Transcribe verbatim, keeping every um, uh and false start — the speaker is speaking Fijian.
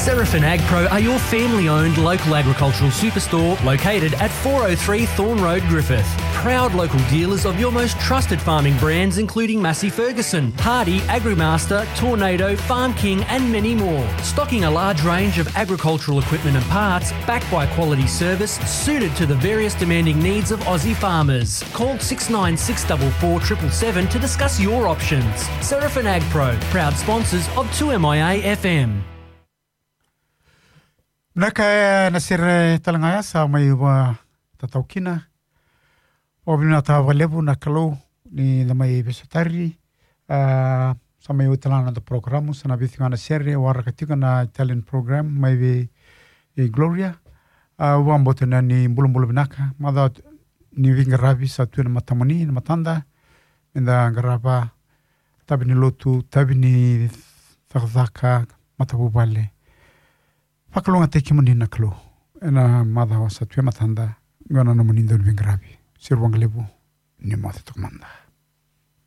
Seraphin Agpro are your family-owned local agricultural superstore located at four oh three Thorn Road, Griffith. Proud local dealers of your most trusted farming brands including Massey Ferguson, Hardy, Agrimaster, Tornado, Farm King and many more. Stocking a large range of agricultural equipment and parts backed by quality service suited to the various demanding needs of Aussie farmers. Call six nine six double four triple seven to discuss your options. Seraphin Agpro, proud sponsors of two M I A F M. Vinaka, e na sere tale ga ya sa mai vakatatau kina. Vakavinavinaka vakalevu na Kalou ni da mai veisotari. A, sa mai oti tale ga na noda porokaramu, sa na vei tiko ga na sere, waraka tiko na Italian program mai vei, e, Gloria. A, au vakabauta ni bulabula vinaka, macawa ni veiqaravi sa tu e na matamuni, na matada, me da qarava, tavi ni lotu, tavi ni cakacaka, matavuvale. Vakalougatataki kemuni na Kalou e na macawa sa tu e matada, qo na nomuni dau ni veiqaravi. Sere vakalevu, ni moce toka mada.